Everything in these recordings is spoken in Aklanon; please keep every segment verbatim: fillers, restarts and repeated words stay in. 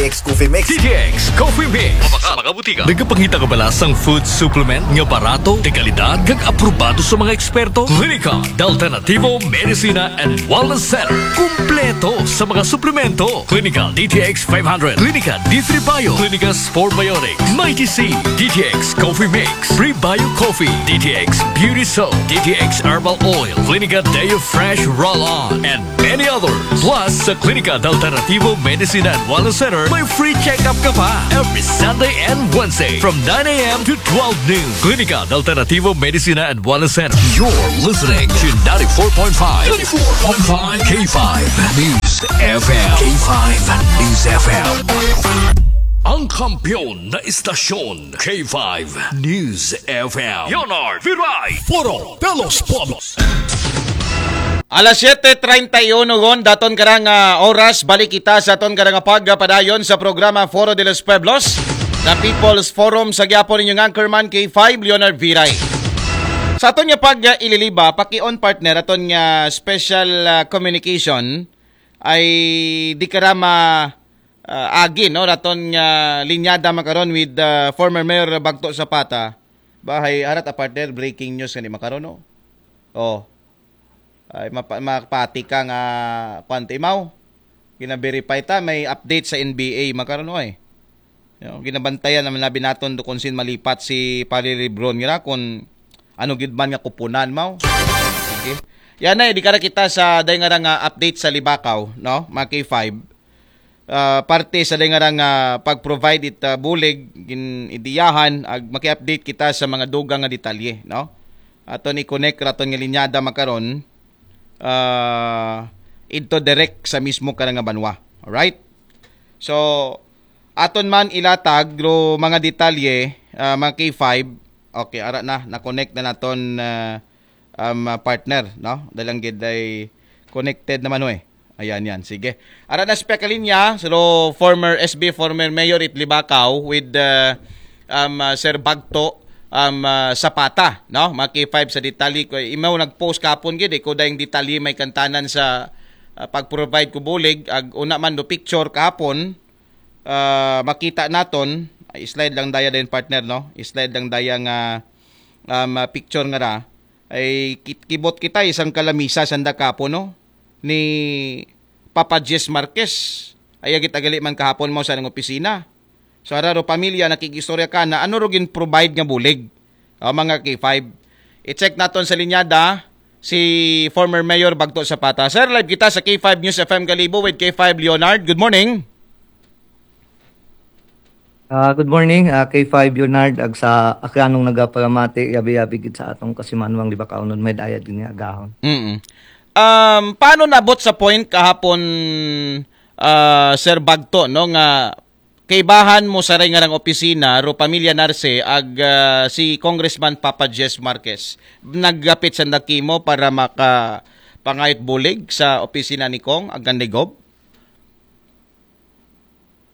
X Coffee Mix. D T X Coffee Mix. Mabaka sa mga butika. Nagapangita ka ba sa food supplement nga barato, de kalidad, kag aprobado sa mga eksperto? Klinika de Alternativo Medicina and Wellness Center. Kumpleto sa mga suplemento. Klinika D T X five hundred, Klinika D three Bio, Klinika Sport Biotics, Mighty C, D T X Coffee Mix, Prebio Coffee, D T X Beauty Soap, D T X Herbal Oil, Klinika Deo Fresh Roll-On, and many others. Plus, sa Klinika de Alternativo Medicina and Wellness Center, may free check-up ka pa every Sunday and Wednesday from nine a.m. to twelve noon. Klinika de Alternativo Medicina and Wellness Center. You're listening to ninety-four point five, ninety-four point five K five News F M. K five News F M. Ang kampiyon na istasyon, K five News F M. Leonard Viray. Foro de los Pueblos. Alas siete treinta y uno gon, daton karang ah, oras, balik kita sa aton karang pagpadayon sa programa Foro de los Pueblos, the People's Forum sa gyapon inyong anchorman K five Leonard Viray. Sa aton nga pag ah, ililiba, paki-on partner aton nga special ah, communication ay di karama ah, agi no, raton nga linyada makaron with ah, former Mayor Bagto Zapata. Bahay arat a partner, breaking news nga ni makaron no. Oh. Ay mapa, mapati ka nga kwanto imaw. Gina-verify ta, may update sa N B A makaron oy. Yo, ginabantayan naman labi naton do kung sin malipat si Pare Lebron ngira kung ano gid man nga kupunan maw. Sige. Yan na, di kara kita sa day nga nga update sa Libakaw, no? Mga K five. Ah, parte sa day nga nga pag-provide it ah, bulig gin idiyahan ag maki-update kita sa mga dugang nga detalye, no? Aton i-connect raton nga linyada makaron ah, into direct sa mismo ka nga banwa. Alright? So, aton man ilatag ro mga detalye, ah, mga K five. Okay, ara na, na-connect na naton ah, um, ah, partner, no? Dalang gid ay connected naman ho eh. Ayan yan, sige. Ara na sa pekalinya, so former S B, former mayor it Libakaw with uh, um, uh, Sir Bagto um, uh, Zapata, no? Mga K five sa detalye ko. Imaw nag-post kahapon gid eh, ko dayong detalye may kantanan sa uh, pag-provide ko bulig, ag una man do picture kahapon, ah, makita naton, ay, slide lang daya din partner, no? Slide lang daya nga um, ah, picture nga ra. Ay kit- kibot kita isang kalamisa sanda kapo, no? Ni Papa Jess Marquez. Ay agit agali man kahapon mo sa nang opisina. So ara ro pamilya nakikistorya ka na ano ro gin provide nga bulig. O, mga K five. I-check naton sa linyada si former Mayor Bagto Zapata. Sir, live kita sa K five News F M Kalibo with K five Leonard. Good morning. Ah, good morning, ah, K five Leonard, ag sa akranong nagaparamati, yabi-yabi gid sa atong kasimanwang Libakaw nun, may dayad gini agahon. Mm. Um, paano nabot sa point kahapon, ah, Sir Bagto, no, nga kaibahan mo sa ray nga rang opisina, ro pamilya Narce, ag ah, si Congressman Papa Jess Marquez, naggapit sa nakimo para maka pangayot bulig sa opisina ni Kong, ag ni Gob?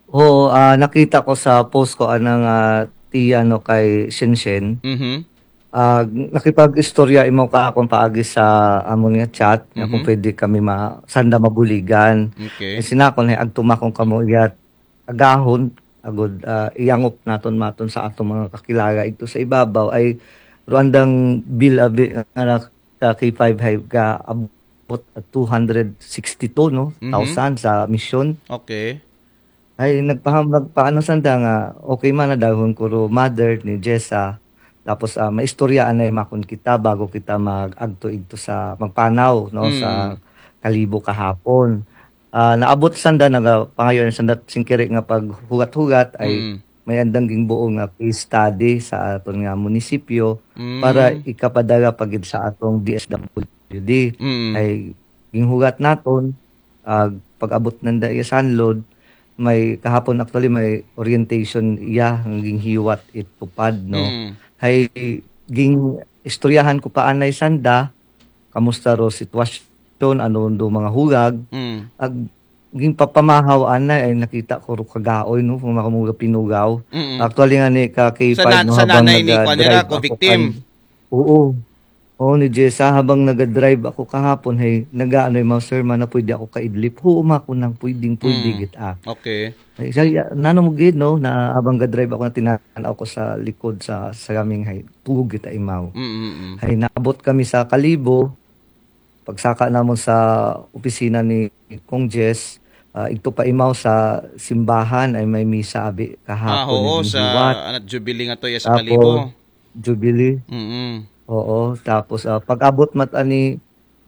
Oo, ah, nakita ko sa post ko anang ah, tiya no kay Shenshen. Mhm. Ah, nakipag-istorya imo ka akong paagi sa amo niya chat nga kung Mhm. pwede kami ma sanda mabuligan. Okay. Eh, sinakon ay agtumakon kamo iyat agahon agud ah, iyangup naton maton sa atong mga kakilala ito sa ibabaw ay ruandang bill abi nga na- ka K five hay ka abot at two hundred sixty-two no Mhm. thousand sa mission. Okay. Ay nagpaham nagpaano sanda nga okay man na dahon ko ro mother ni Jessa. Tapos ah, maistorya anay makon kita bago kita mag-agto igto sa magpanaw no Mm. sa Kalibo kahapon. Ah, naabot sanda naga pangayon sanda singkiri nga paghugat-hugat ay Mm. may andang gingbuo nga case study sa aton nga munisipyo Mm. para ikapadala pa gid sa atong D S W D. Mm. Ay ginghugat naton ag pag-abot nanda iya sanlod may kahapon actually may orientation iya nga ginghiwat it tupad no. Mm. Hay ging istoryahan ko pa anay sanda kamusta ro sitwasyon ano do mga hurag Mm. ag ging papamahaw anay ay nakita ko ro kagaoy no kung mga mga pinugaw. Mm. Actually nga ni ka K five Sa na- no sa habang nanay ni naga- kuwan nila, drive ko ako victim. kan- Oo. Oo, ni Jessa, habang nagadrive ako kahapon, hey, nagaano yung mga sir, man, na pwede ako kaidlip. Oo, ma, ko nang pwedeng, pwede Mm. git, ah. Okay. Ay, siya, ya- nano mo gid, no, na habang gadrive ako na tinanaw ko sa likod sa, sa kaming, hay, tuog kita imaw. Mm-mm. Hay, naabot kami sa Kalibo, pagsaka namon sa opisina ni Kong Jess, ah, igto pa imaw sa simbahan ay may misa abi Ah, kahapon oo, ni sa Hiwat. Anat Jubilee nga to, yes, sa Tapos, Kalibo. Jubilee. Mm-mm. Oo, tapos ah, pag-abot mat ani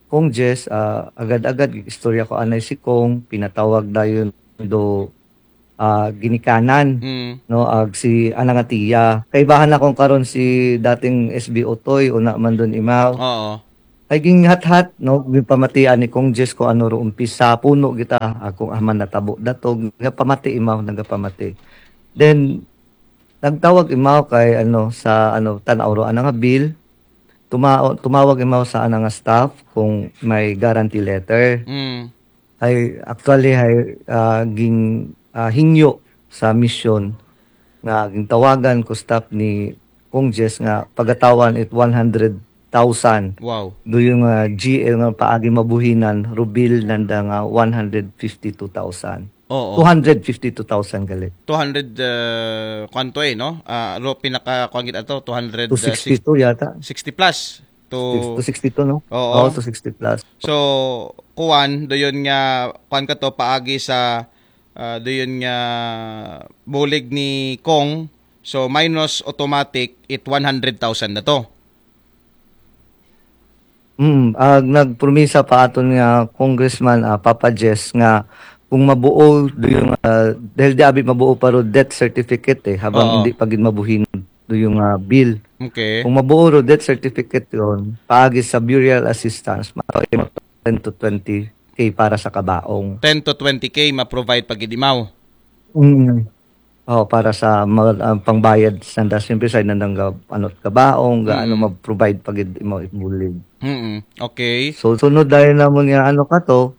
Kong Jess, ah, agad-agad istorya ko anay si Kong, pinatawag dayon do ah, ginikanan, Mm. no, ag si ana nga tiya. Kaibahan akong karon si dating S B Otoy, una man dun imaw. Oo. Ay ginghathat, no, gipamatian ni Kong Jess ko ano ro umpisa, puno kita, akong aman natabo datog, nga pamati imaw, nagapamati. Then, nagtawag imaw kay ano, sa ano, tanaw ro ana nga bill, tuma- tumawag imaw sa ana nga staff kung may guarantee letter. Mm. Ay actually ay ah, ging ah, hingyo sa mission nga gintawagan ko staff ni Kong Jess nga pagatawan it one hundred thousand. Wow. Do yung ah, G L nga paagi mabuhinan, rubil nanda nga one hundred fifty-two thousand. Oo. Two hundred fifty-two thousand gali. Two hundred, uh, kwanto eh, no? Ah, ro pinaka, kwan gid ato, two hundred, uh, two sixty-two yata. sixty plus. To, two sixty-two, no? Oo. Oo, two sixty plus. So, kuwan, do yun nga, kuwan ka to, paagi sa, ah, do yun nga, bulig ni Kong. So, minus automatic, it one hundred thousand na to. Mm, ag nagpromisa pa aton nga Congressman ah, Papa Jess nga kung mabuo do yung ah, dahil di abi mabuo pa ro death certificate eh habang Oo. hindi pa gid mabuhin do yung ah, bill. Okay. Kung mabuo ro death certificate yon, paagi sa burial assistance, ma ten to twenty K para sa kabaong. Ten to twenty K ma-provide pag idimaw. Mm. Oh, para sa mga ah, pangbayad sa nanda, siyempre sa nandang ga, ano, kabaong, ga, ano, Mm. ma-provide pag imo ibulig. Mm. Okay. So sunod dahil namon nga ano ka to,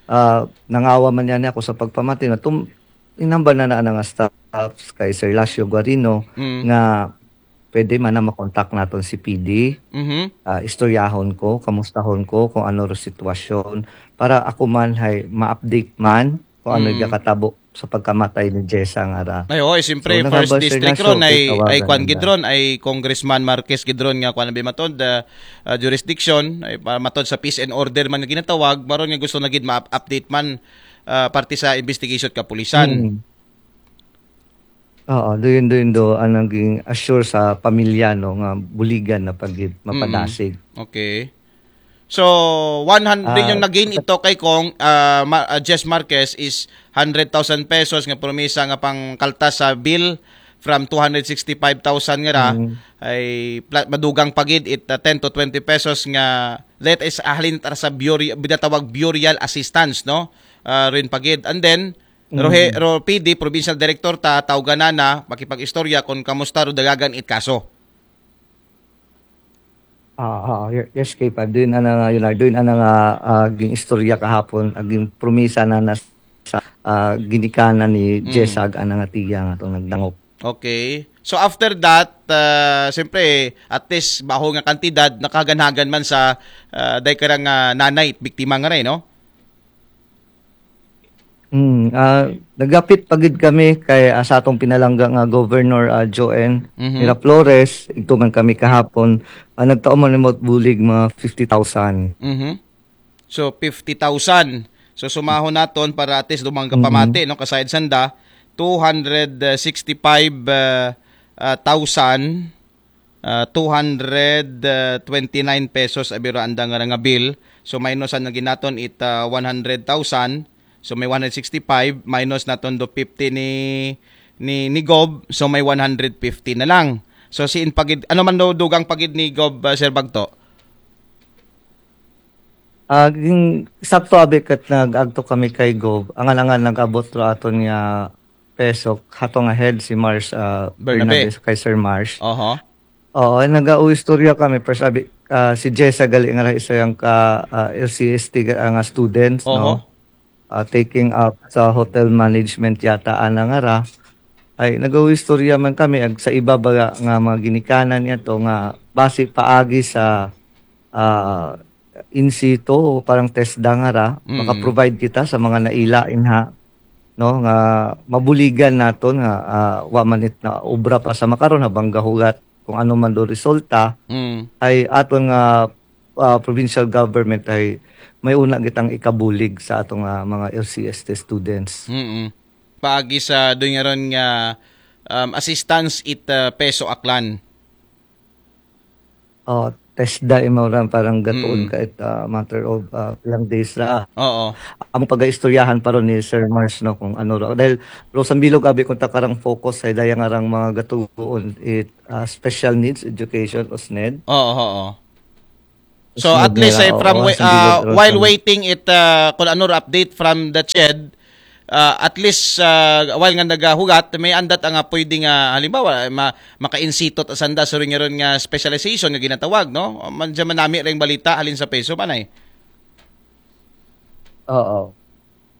ah, nangawa man niya ako sa pagpamati na tum inamba na na nga staffs kay Sir Lasio Guarino Mm. nga pwede man na makontak naton si P D. Mhm. Ah, istoryahon ko, kamustahon ko kung ano ro sitwasyon para ako man hay ma-update man kung ano Mm. yung katabo sa pagkamatay ni Jessa nga ra. Ay, oo, eh, siyempre, So, first nagabal district sila ron sa ay, tawagan ay kwan nila. Gidron, ay Congressman Marquez Gidron nga kwan bi matod, ah, ah, jurisdiction, ay pa- matod sa peace and order man nga ginatawag, maron nga gusto na gid ma-update man, ah, parte sa investigation at kapulisan. Mm. Oo, doon doon do ang naging assure sa pamilya no nga buligan na pagid mapadasig. Okay. So, one hundred Ah, yung naging ito kay Kong, ah, Ma- ah, Jess Marquez is hundred thousand pesos nga promisa nga pangkaltas sa bill from two hundred sixty-five thousand nga ra Mm. ay pla- madugang pagid it uh, ten to twenty pesos nga let is ahalin tara sa buri, binatawag burial assistance, no? Ah, rin pagid. And then, Rohe, Mm. Ro P D, Provincial Director ta, tawgan na na, makipag-istorya kung kamusta ro dagagan it kaso. Ah, ah, y- yes, kay pa. Doon ana nga, yun, doon ana nga ah, ging istorya kahapon, aging promisa na na sa ah, ginikanan ni Mm. Jessag ana nga tiya nga itong nagdangop. Okay. So after that, uh, siyempre, at least baho nga kantidad nakaganhagan man sa uh, day karang uh, nanay biktima nga rin, no? Hmm, ah, nagapit pagid kami kay ah, sa atong pinalangga nga Governor ah, Joen Mhm. Miraflores, igtuman kami kahapon, ah, nagtaon man nimot bulig mga fifty thousand. Mhm. So fifty thousand. So sumahon naton para at least dumang kapamati, no, kasayad sanda two hundred sixty-five uh, uh, thousand uh, two hundred twenty-nine pesos abiro andang nga nga bill. So minusan na ginaton it uh, one hundred thousand. So may one hundred sixty-five minus naton do fifty ni ni ni Gob, so may one hundred fifty na lang. So si in pagid ano man do dugang pagid ni Gob uh, Sir Bagto? Aging sakto abi kat nag-agto kami kay Gob. Angan-angan nag-abot ro aton nga peso hatong ahead si Mars ah, Bernabe. Bernabe kay Sir Mars. Oho. Oo, nag-uistorya kami first abi ah, si Jessa gali nga isa yang ka ah, L C S T ga- nga students Oho. no. Ah, taking up sa hotel management yata ana nga ra. Ay nag-uistorya man kami ag sa iba baga nga mga ginikanan niya to nga base paagi sa ah, in situ, parang TESDA nga ra, Mm. maka-provide kita sa mga naila inha, no, nga mabuligan naton nga, ah, wa man it na obra pa sa makaron, habang gahulat kung ano man do resulta, Mm. ay aton nga, ah, provincial government ay may una gitang ikabulig sa atong, ah, mga L C S T students. Mm. Paagi sa doon nga ron nga um, assistance it uh, peso aklan. Oh, TESDA imo ra, parang gatuon Mm. ka it, ah, matter of, ah, ilang days ra. Oo. Ang pag-istoryahan pa ron ni Sir Mars, no, kung ano ra. Dahil Rosan Bilog, abi kung takarang focus sa daya nga rang mga gatuon it, ah, special needs education o SNED. Oo, oo. So Yes, at least Mira, ay from oo, wai- sa bilog uh, ron while sa waiting it uh, kung ano ra update from the CHED, uh, at least uh, while nga nagahugat, may andat nga pwede nga halimbawa ma maka-insitot sanda sa ron nga ron nga specialization nga ginatawag, no? Man dyan manami ring balita halin sa peso, panay. Oo.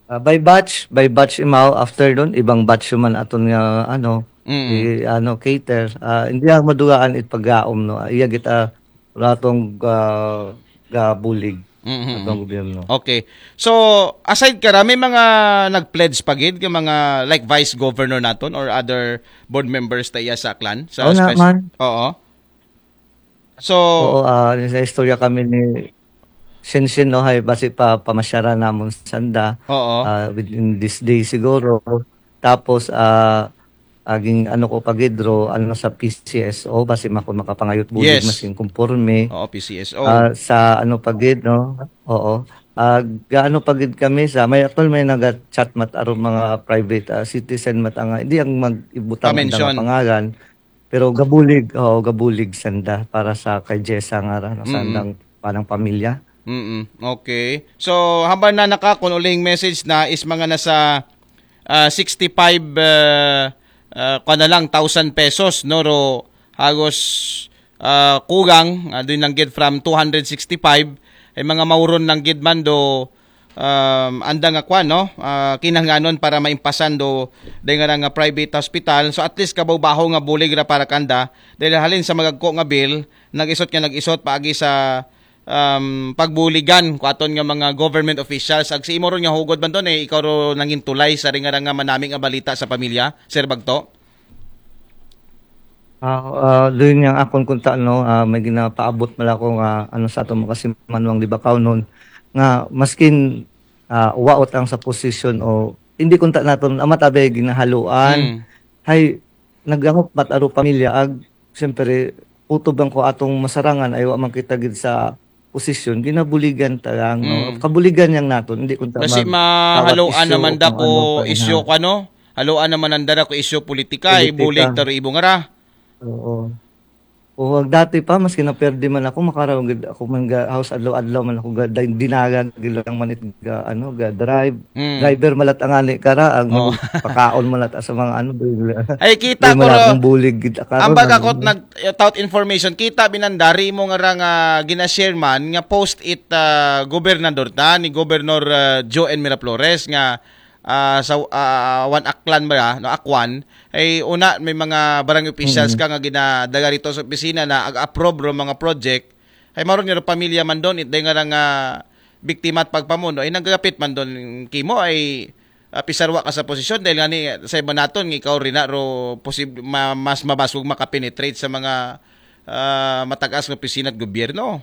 Ah, by batch, by batch imaw, after dun, ibang batch man aton nga, ano, Mm. i-, ano, cater. Ah, hindi ang madugaan it paggaom, no? Iya kita ratong ga, gabulig Mm-mm. atong gobyerno. Okay. So, aside kara, may mga nag-pledge pa gid nga mga like vice governor naton or other board members ta iya sa aklan sa Oo na, spec- man. Oo. So, Oo, ah, sa istorya kami ni Shinshin, no, hay basi pa pamasyaran namon sanda. Oo. Ah, within this day siguro. Tapos, ah, aging ano ko pa gid ro, ano, sa P C S O, basi mako makapangayot bulig Yes. masing kumporme. Oo, P C S O. Ah, sa ano pa gid, no? Oo. Ah, gaano pa gid kami sa, may actual may naga-chat mat aron mga private, ah, citizen mat nga, hindi ang mag-ibutang ang Pa-mention. mga pangalan. Pero gabulig, oo, gabulig sanda para sa kay Jessa nga ra, no, sa Mm. andang panang pamilya. Mm. Okay. So, hambal na naka kung uling message na is mga nasa ah, sixty-five uh, uh, kuwan na lang thousand pesos, no, ro hagos uh, kugang uh, doon lang gid from two hundred sixty-five ay mga mauron lang gid man do um, anda nga kwan, no, uh, kinahanglanon para maimpasan do dahil nga nga private hospital. So at least kabaw-baho nga bulig ra para kanda dahil halin sa magagko nga bill, nag-isot nga nag-isot paagi sa um, pagbuligan ko aton nga mga government officials. Ag si imo ron nga hugod man ton eh, ikaw ro nangintulay sa ringa nga manami nga balita sa pamilya, Sir Bagto? Ah, ah, doon yang akon kunta, no, ah, may ginapaabot man ako nga, ano, sa atong makasimanwang di ba, kaw nun, nga maskin, ah, waot ang sa posisyon o hindi kunta naton, amat abay ginahaluan. Mm. Hay, nagdangop mat aro pamilya, ag, siyempre, utob lang ko atong masarangan, ay wa man kita gid sa posisyon, ginabuligan ta lang, no? Mm. Kabuligan yang naton, hindi kunta Kasi mag- mahaluan tawag issue naman da kung ko ano pa, issue ha? Ko ano, haluan naman nanda ra ko issue politika, Politika. Ibulig taro ibong ara. Oo. O, ag dati pa, maski naperde man ako, makaraw gid ako man ga house adlaw-adlaw man ako ga day- dinagan gid lang man it ga, ano, ga drive. Mm. Driver malat ang ani kara, ang Oo. Pakaon malat sa mga ano, bigla. Ay, kita Di ko man ra. Akong bulig gid, ah, karon Ang baga ang ko nag eh, tout information, kita binandari mo nga ra nga gina-share man nga post it ah, gobernador ta ni Governor ah, Joe N Miraflores nga ah, sa ah, One Aklan ba, no, Akwan, ay una may mga barangay officials Mm. Ka nga ginadaga rito sa opisina na ag-approve ro mga project, ay maron nga ro pamilya man don, it day nga ra nga biktima at pagpamuno, ay nanggagapit man don kimo, ay ah, pisarwa ka sa posisyon dahil nga ni sa iba naton nga ikaw rin na ro posib ma, mas mabasog makapenetrate sa mga ah, matagas nga opisina at gobyerno.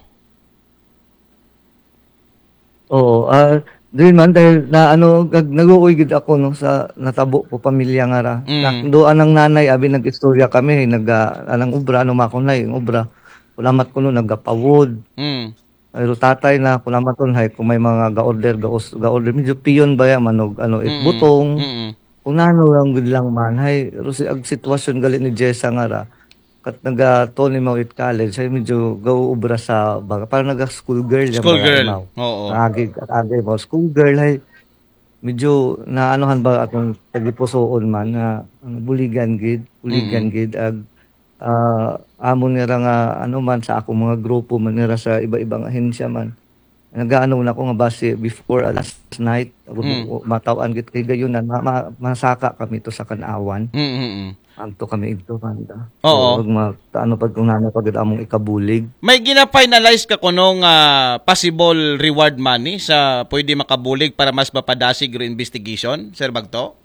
Oo, ah, doon man dahil na ano, gag- nag-uoy gid ako, no, sa natabo ko pamilya nga ra. Mm. Na, doon ang nanay, abi, nag-istorya kami, nag ah, anang obra, ano, makunay ang obra. Kulamat ko no, nagapawod. Mm. Pero tatay na, kulamat ko, hay, kung may mga ga-order, ga-, ga-order, medyo piyon ba yan, manog, ano, it Mm. butong. Mm. Kung nano lang gud lang man, hay, ro si ag sitwasyon gali ni Jessa nga ra, kat naga Tony Mawit College, hay medyo gaubra sa baga, parang naga school girl yan School baga, girl. Imaw. Oo. Agi, agi mo, school girl, hay medyo naanuhan ba akong tagipusoon man nga ano, buligan gid, buligan gid ag ah, amon nira nga ano man sa akong mga grupo man nira sa iba-ibang ahensya man. nagaano na ko nga basi before, ah, last night, Mm. matawan gid kay gayon na ma, ma, masaka kami to sa Kanawan. Mm, mm, mm. Anto kami igto banda. Oo. So, ma, ano pag kung ano pag among ikabulig. May gina-finalize ka kuno nga possible reward money sa pwede makabulig para mas mapadasig ro investigation, Sir Bagto?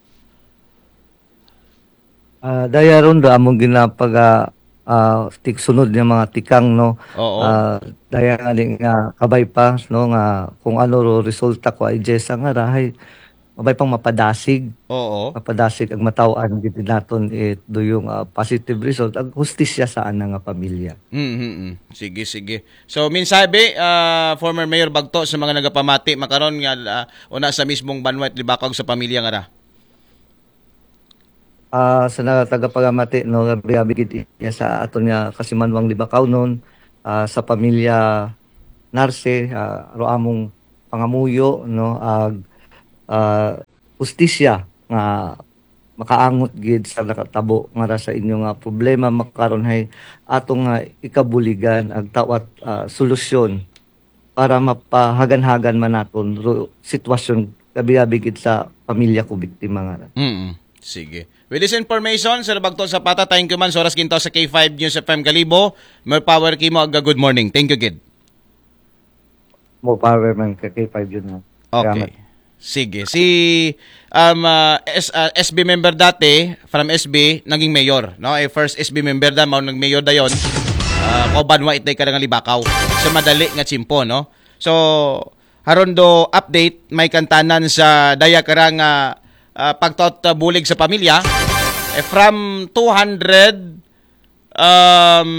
Ah, daya ron do among ginapaga ah, tiksunod nga mga tikang, no. Oo. Ah, daya nga di nga kabay pa, no, nga kung ano ro resulta ko ay Jessa nga rahay mabay pang mapadasig. Oo. Mapadasig ang matawan gid naton it do yung ah, positive result ag hustisya sa ana nga pamilya. Mm, mm, mm. Sige, sige. So, mensahe bi, ah, former Mayor Bagto, sa mga nagapamati makaron nga ah, una sa mismong banwa it Libacao sa pamilya nga ra. Ah, sa na tagapagamati, no, abi-abi gid iya sa aton nga kasimanwang Libacao non, ah, sa pamilya Narce, ah, ro among pangamuyo, no, ag ah, hustisya nga makaangot gid sa nakatabo nga ra sa inyo nga problema makaron hay atong nga ikabuligan ag tawat ah, solusyon para mapahagan-hagan man naton ro sitwasyon abi-abi gid sa pamilya ko biktima nga ra. Mm. Sige. With this information, Sir Bagto Zapata, thank you man sa oras gintaw sa K five News F M Kalibo. More power kimo ag good morning. Thank you gid. More power man ka K five yun na. Okay. Sige. Si um, ah, S, ah, S B member dati, from S B, naging mayor. No? Eh, first S B member na, mao nag-mayor dayon. Uh, kauban wa itay ka nga Libacao. Sa madali nga tsimpo, no? So, haron do update, may kantanan sa daya karang uh, uh, pagtaot uh, bulig sa pamilya. Eh, from two hundred, um,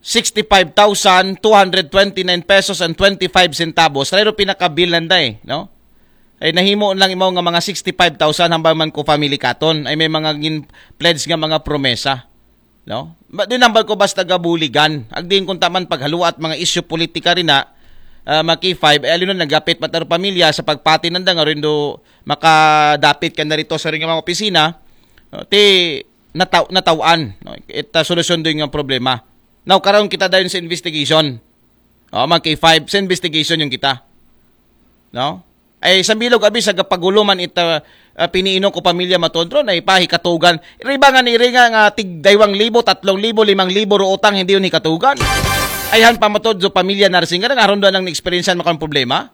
sixty-five thousand two hundred twenty-nine pesos and twenty-five centavos. Kaya pinakabil nanda eh, no? Ay nahimo lang imaw nga mga sixty-five thousand hambal man ko family katon. Ay may mga gin pledge nga mga promesa. No? Ba, din hambal ko basta gabuligan. Agdin kung taman paghaluat mga isyu politika rin na uh, mga K five, eh, alino nagapit mataro pamilya sa pagpati nanda nga rin do makadapit ka narito sa ring mga opisina. No? Ti nataw natawan, no? It uh, solusyon do yung problema. Now, karon kita dayon sa investigation. O, mga K five, sa investigation yung kita. No? Ay, sa bilog, abi, sa gapaguluman ita uh, piniino ko pamilya matodro na ipahikatugan. Riba nga ni ringa nga tig daywang libo, tatlong libo, limang libo ro utang, hindi yun hikatugan. Ayhan pa matod so pamilya nursing nga aron doon ang experience makang problema.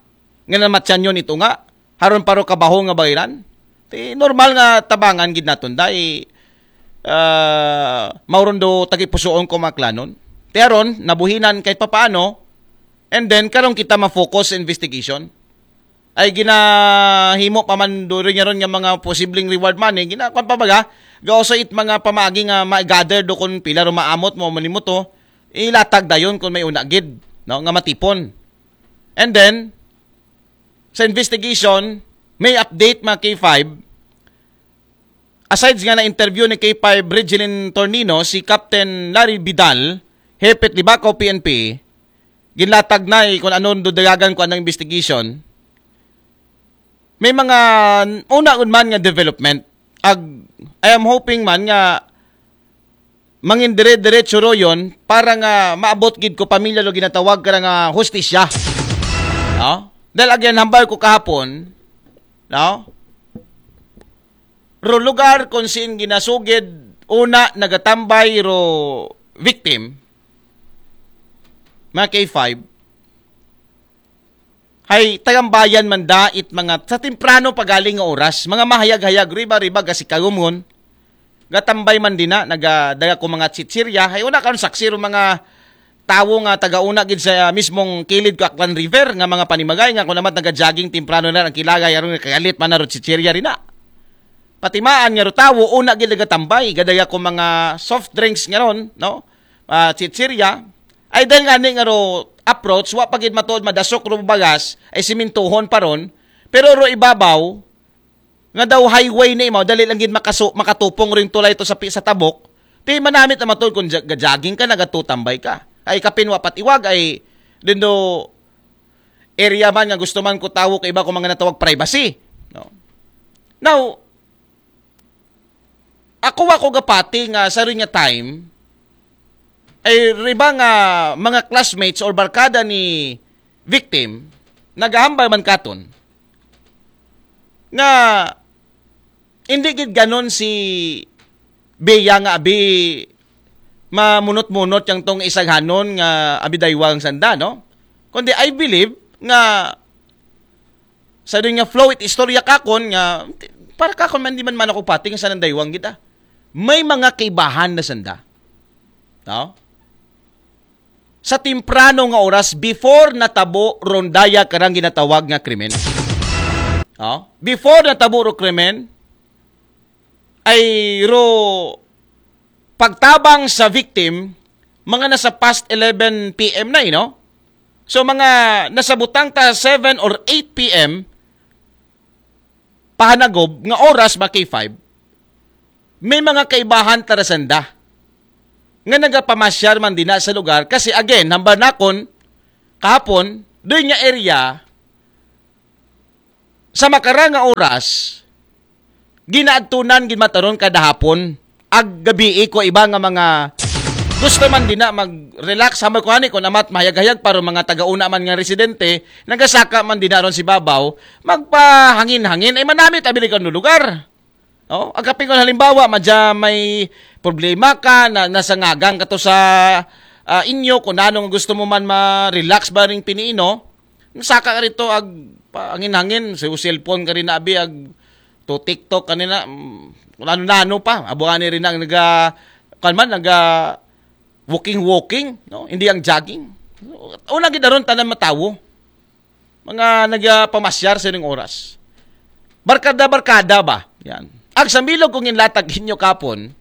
Nga namatyan yun ito nga. Haron paro kabaho nga bayran. Ti normal nga tabangan gid naton dai uh, mauron do tagipusuon ko maklanon. Ti aron nabuhinan kahit papaano, and then karon kita ma-focus sa investigation. Ay ginahimo pa man do rin ron nga mga posibleng reward money, ginakuan pa baga, gauso it mga pamaagi nga ma-gather do kung pila ro maamot mo manimo to, ilatag dayon kung may una gid, no, nga matipon. And then sa investigation, may update mga K five. Aside nga na-interview ni K five Regilin Tornino, si Captain Larry Vidal, Hepet Libacao P N P, ginlatag na eh, kung ano dudagagan ko anong investigation. May mga una man nga development. Ag, I am hoping man nga mangin dire-diretso ro yon para nga maabot gid ko pamilya lo ginatawag ka nga hustisya. No? Dahil again, hambal ko kahapon, no? Ro lugar kung sin ginasugid, una nagatambay ro victim, mga K five, hay tagambayan man da it mga sa temprano pagaling nga oras, mga mahayag-hayag riba-riba gasi kagumon. Gatambay man dina, nagadaga ko mga chichirya, hay una karon saksi ro mga tawo nga tagauna gid sa mismong kilid ko Aklan River nga mga panimagay nga kunamat naga-jogging temprano na ang kilagay aron kagalit man na ro chichirya rina. Patimaan nga ro tawo una gid nagatambay, gadaga ko mga soft drinks nga ron, no? Uh, chichirya. Ay dahil nga ni nga ro approach, wa pa gid matuod madasok ro bagas, ay simintuhon pa ron. Pero ro ibabaw, nga daw highway na imaw, dali lang gid makaso, makatupong ring tulay to sa, sa tabok. Ti manamit na matod kung jogging ka, nagatutambay ka. Ay kapin wa pat iwag, ay dindo area man nga gusto man ko tawo kay iba ko mga natawag privacy. No? Now, ako ako gapati nga sa rin nga time, ay riba nga mga classmates or barkada ni victim, nagahambal man katon nga hindi gid ganon si Bea nga abi mamunot-munot yang tong isaghanon nga abi daywang sanda, no? Kundi I believe nga sa doon nga flow it istorya kakon nga para kakon man di man man ako pating sa nang daywang kita. May mga kaibahan na sanda. No? Sa temprano nga oras before natabo rondaya karang ginatawag nga krimen. Oh, before natabo ro krimen ay ro pagtabang sa victim mga nasa past eleven p m na, eh, no? So mga nasa butang ta seven or eight p m pahanagob nga oras ba K five, may mga kaibahan tarasanda nga nagapamasyar man dina sa lugar kasi again, hambal nakon kahapon, doon nga area sa makara nga oras ginaadtunan gid mataron kada hapon ag gabii ko iba nga mga gusto man dina mag-relax hambal ko ani kung amat mahayag-hayag para mga taga-una man nga residente nagasaka man dina ron si babaw magpahangin-hangin ay manamit abi kang lugar. Oh, agapin ko halimbawa, madya may problema ka na nasangagan ka to sa ah, inyo kung ano nga gusto mo man ma-relax ba ring piniino. Saka ka rito ag angin-hangin, sa cellphone ka rin abi ag to TikTok kanina, mm, kung ano-ano pa. Abuani rin ang naga kan man naga walking walking, no? Hindi ang jogging. Una gid aron tanan matawo. Mga nagapamasyar sa ining oras. Barkada-barkada ba? Yan. Ag sa milog kung inlatag inyo kapon,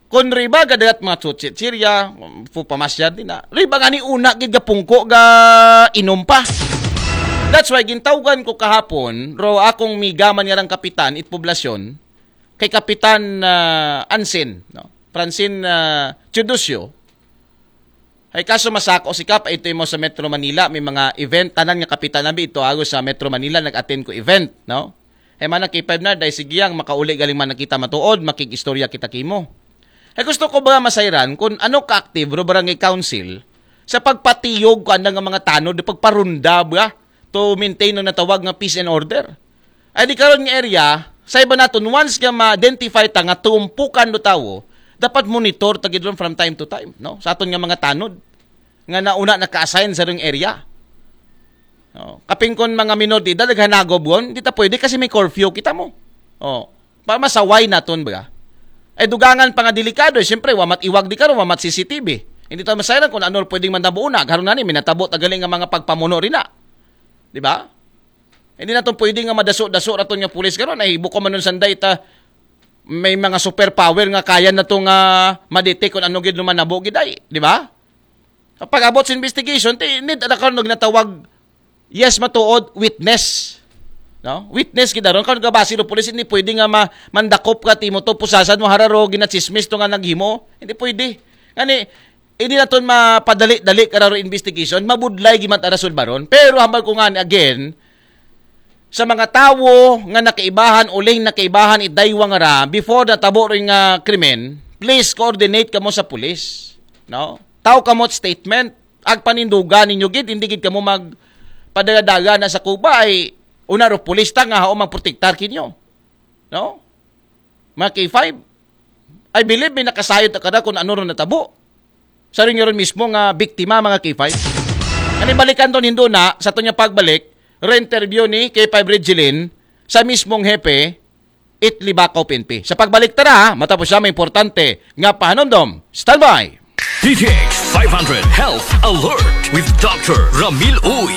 kung riba gadat mga tsutsit sirya, fu pamasyar din na. Riba nga ni una gid ga pungko ga inom pa. That's why gintawgan ko kahapon, ro akong migaman yarang kapitan, it poblasyon, kay Kapitan ah, Ansin, no? Francine ah, Teodosio, Hay kaso masako si Kap, ito mo sa Metro Manila, may mga event, tanan nga kapitan nabi ito agos sa Metro Manila, nag-attend ko event, no? Hay mana K five na, dahil sige yang makauli galing man kita matuod, makig-istorya kita kimo. Hay gusto ko ba masayran kung ano ka-active ro barangay council sa pagpatiyog ko andang nga mga tanod, pagparunda ba? To maintain ang natawag nga peace and order. Ay di karon nga area, sa iba naton, once nga ma-identify ta nga tumpukan do tawo, dapat monitor ta gid ron from time to time, no? Sa aton nga mga tanod nga nauna naka-assign sa rong area. No? Kaping kon mga minor de edad naghanagob gon, di ta pwede kasi may curfew kita mo. Oh, para masaway naton ba? Ay dugangan pa nga delikado, eh, siyempre, wamat iwag di karon, wamat C C T V. Hindi ta masayran kung ano pwedeng manabo una. Karon na ni, minatabo ta gali nga mga pagpamuno rin na. Di ba? Hindi naton pwede nga madaso-daso raton nga pulis karon ay buko man nun sanday ta may mga superpower nga kaya na to nga ma-detect kung ano gid lumanabo gid ay, di ba? Pag abot sa investigation, ti need na karon og natawag yes matuod witness. No? Witness gid aron karon gabasi do pulis hindi pwede nga ma mandakop ka timo to pusasan mo hararo ginachismis to nga naghimo. Hindi pwede. Ngani hindi naton mapadali-dali kararo investigation, mabudlay gid man ta rason baron. Pero hambal ko nga ni again, sa mga tawo nga nakaibahan, uling nakaibahan, idaywang ra, before natabo rin nga krimen, please coordinate kamo sa pulis. No? Tao kamo statement. Ag panindugan ninyo gid, hindi gid kamo mag padala-dala na sa Cuba ay una ro pulis ta nga hao magprotektar kinyo. No? Mga K five, I believe may nakasayod ta kada kung ano ron natabo. Sa rin yun mismo nga biktima, mga K five. Ani balikan to nindo na, sa to niya pagbalik, re-interview ni K five Regilin sa mismong hepe, it Libakaw P N P. Sa pagbalik tara, ha, matapos siya may importante nga pahanumdom. Standby! D T X five hundred Health Alert with Doctor Ramil Uy.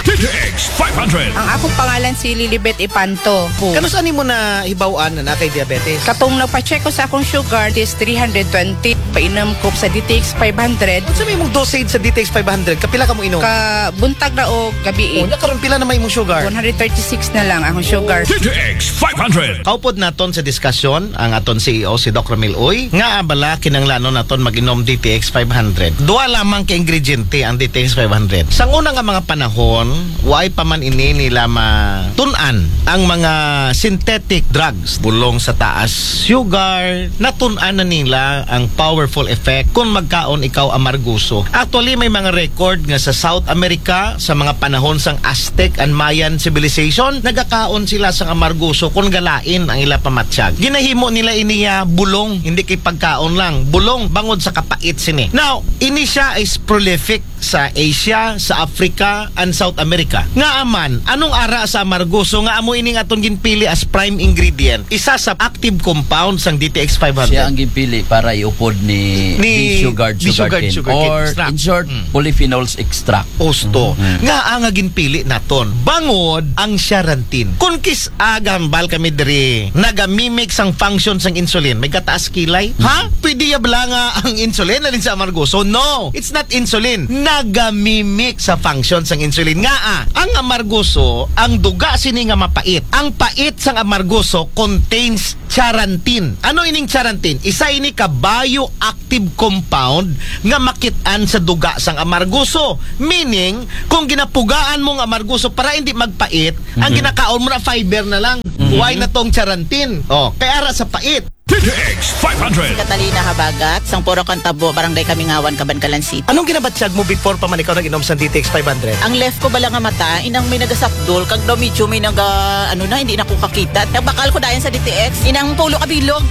D T X five hundred. Ang akong pangalan si Lilibet Ipanto. Kano saan mo na hibaw-an na nakay diabetes? Katong nagpa-check ko sa akong sugar is three hundred twenty. Painom ko sa D T X five hundred. Ano sa imong dosage sa D T X five hundred? Kapila ka mo inom? Ka buntag na o gabi. Oh, nya karon pila na may imong sugar? one hundred thirty-six na lang akong sugar. D T X five hundred. Kaupod naton sa diskusyon ang aton C E O si Doc Ramil Uy nga abala kinanglanon naton mag-inom D T X five hundred. Duha lamang ka ingrediente ang D T X five hundred. Sa una nga mga panahon, Why pa man ini nila matun-an ang mga synthetic drugs? Bulong sa taas sugar, natun-an na nila ang powerful effect kung magkaon ikaw amarguso. Actually, may mga record nga sa South America, sa mga panahon sang Aztec and Mayan civilization, nagakaon sila sang amarguso kung galain ang ila pamatyag. Ginahimo nila ini nga bulong, hindi kay pagkaon lang. Bulong bangod sa kapait sini. Now, ini siya is prolific sa Asia, sa Africa, and South America. Nga aman, anong ara sa amargoso nga amo ining aton ginpili as prime ingredient? Isa sa active compound sang D T X five hundred. Siya ang ginpili para iupod ni, Ni ni Sugar Disugar Sugarcane. Sugarcane Or extract. in short, Mm. polyphenols extract. Osto. Mhm. Nga ang ginpili naton. Bangod ang charantin. Kung kis-a gahambal kami diri, nagamimic sang function sang insulin. May gataas kilay. Ha? Pwede ya bala nga ang insulin alin sa amargoso? No, it's not insulin. Nagamimic sa function sang insulin. Nga ah, ang amargoso, ang duga sini nga mapait. Ang pait sang amargoso contains charantin. Ano ining charantin? Isa ini ka bioactive compound nga makit-an sa duga sang amargoso. Meaning, kung ginapugaan mo ang amargoso para hindi magpait, ang ginakaon mo na fiber na lang. Why na tong charantin? Oh, kay ara sa pait. D T X five hundred. Catalina Habagat, sang Puro Kantabo, Barangay Kamingawan, Kabankalan City. Anong ginabatyag mo before pa man ikaw nag-inom sa D T X five hundred? Ang left ko bala nga mata, inang may nagasakdol, kag daw medyo may naga, ano na, hindi na ko kakita. Nagbakal ko dayon sa D T X, inang pulo ka bilog,